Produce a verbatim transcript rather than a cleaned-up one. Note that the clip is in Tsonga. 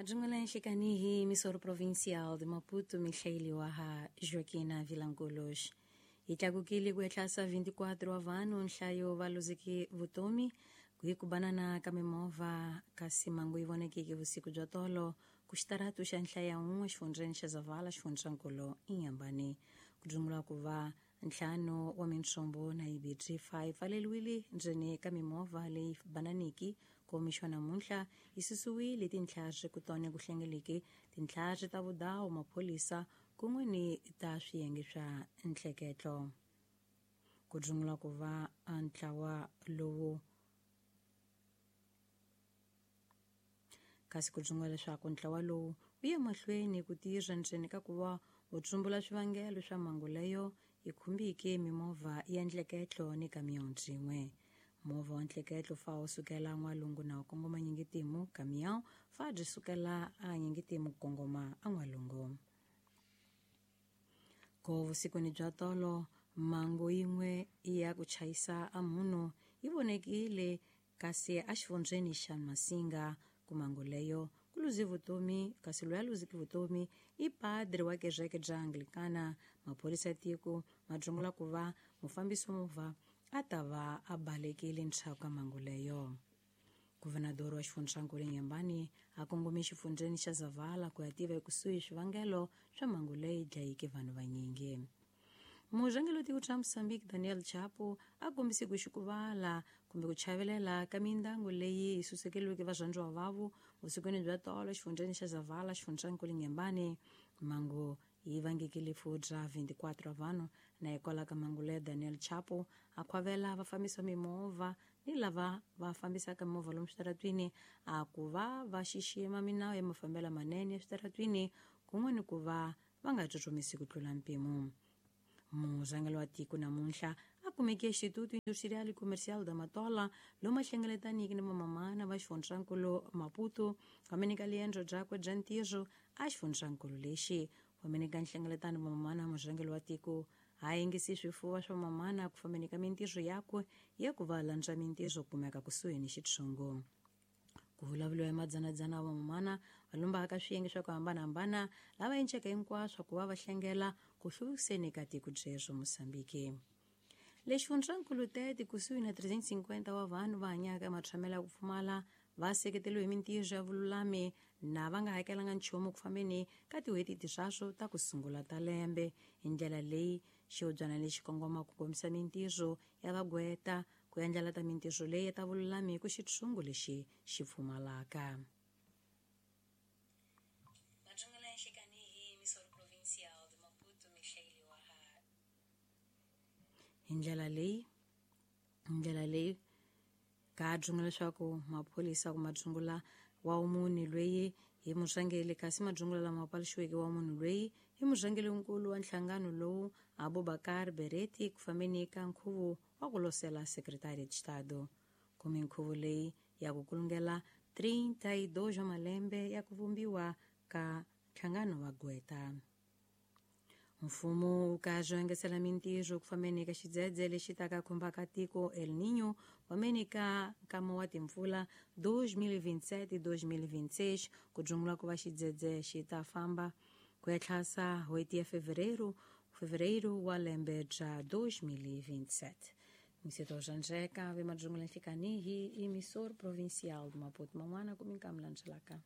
Majungula nhlikani emissora provincial de Maputo, Michael Waha Joaquina Vilanculos. Yi tlakukile ku ehlasa vinte e quatro wa vanhu nhlayo va luzeke vutomi ku hi ku banana ka mimovha, kasi mhangu yi vonekeke vusiku bya tolo ku xitaratu xa nhlaya un'we xifundzheni xa Zavala, xifundzankulu Inhambane. Ku dzungula ku va ntlhanu wa mintsumbu na yibirhi fa yi pfaleriwile ndzeni ka mimovha leyi bananiki. Ku mixo namuntlha yi susiwile tintlhari ku tona ku hlengeleke tintlhari ta vudawu, maphorisa kun'we ni ta swiyenge swa ntleketlo. Ku dzungula ku va ntlawa lowu, kasi ku dzungula leswaku ntlawa lowu wu ye mahlweni ku tirha ndzeni ka ku va wu tsumbula swivangelo swa mhangu leyo yi khumbike mimovha ya ntleketlo ni kamiyon byin'we. Movha wa ntleketlo fa wu sukela n'walungu na wu kongoma nyingitimu, kamiyon fa byi sukela a nyingitimu ku kongoma a n'walungu. Ko vusikwini bya tolo mhangu yin'we ya ku chayisa a munhu yi vonekile kasi exifundzheni xa Masinga. Ku mhangu leyo ku luze vutomi, kasi loyi a luzeke vutomi i padri wa kereke bya Anglikana. Maphorisa ya tiko ma dzungula ku va mufambisi wa movha a ta va a balekile ndzhaku ka mhangu leyo. Guvernador wa xifundzankulu Inhambane a kongome xifundzheni xa Zavala ku ya tiva ekusuhi swivangelo swa mhangu leyi dlayeke vanhu vanyingi. Murhangeri wa tiko ra Mozambique Daniel Chapo a kombise ku xikuvala kumbe ku chavelela ka mindyangu leyi yi susekeriweke varhandziwa vavo vusikwini bya tolo xifundzheni xa Zavala, xifundzankulu Inhambane. Mhangu yi vangeke rifu ra vinte e quatro wa vanhu, na hikwalaho ka mhangu leyo Daniel Chapo a khwavela vafambisi va mimovha ni lava va fambisaka mimovha lomu switaratwini a ku va va xixima minawu ya mafambelo manene eswitaratwini kun'we ni ku va va nga tsutsumisi ku tlula mpimo. Murhangeri wa tiko namuntlha a kumeke Instituto Industrial e Comercial da Matola lomu a hlengeletaniki ni vamamana va xifundzankulu Maputo fameni ka riendzo byakwe bya ntirho a xifundzankulu lexi. Fameni ka nhlengeletano vamamana, murhangeri wa tiko a yingisi swifuva swa mamana ku fambeni ka mintirho yakwe ya ku va landza mintirho kumeka kusuhi ni xitshungu. Ku vulavuriwa hi madzanadzana wa vamamana va lumbaka swiyenge swa ku hambanahambana lava enceka hinkwaswo ku va va hlengela ku hluvukiseni ka tiko byebyo Mosambiki. Le xifundzankulu Tete, kusuhi na trezentos e cinquenta wa vanhu va hanyaka ematshamelo ya ku pfumala va seketeriwe hi mintirho ya vululami na va nga hakelanga nchumu ku fambeni ka tin'hweti tiswaswo ta ku sungula ta lembe. Hi ndlela leyi xihobyana lexi kongoma ku kombisa mintirho ya vagweta ku endlela ta mintirho leyi ta vululami ku xitshungu lexi xi pfumalaka. Majungula nhlikani hi emissora provincial de Maputo, Michael Waha. Hi ndlela leyi hi ndlela leyi ka dzunga leswaku maphorisa ku madzungula wa munhu loyi hi murhangeri, kasi madzungula lama paluxiweke wa munhu loyi hi murhangerinkulu wa nhlangano lowu Abubakar Bereti ku fambeni ka nkhuvo wa ku losela Secretaria de Estado kume nkhuvo leyi ya ku kulungela trinta e dois wa malembe ya ku vumbiwa ka nhlangano wa gweta. Mfumo wu kazi engesela mintirho ku fambeni ka xidzedze lexi taka khumbaka tiko El Niño fambeni ka nkama wa timpfula dois mil e vinte e sete dois mil e vinte e seis. Ku dzungula ku va xidzedze xi ta famba ku ya tlhasa n'hweti ya fevereiro fevereiro wa lembe bya dois mil e vinte e sete. Mseto Janjeka ve madzungula nhlikani hi emissor provincial de Maputo man'wana ku minkamu landzelaka.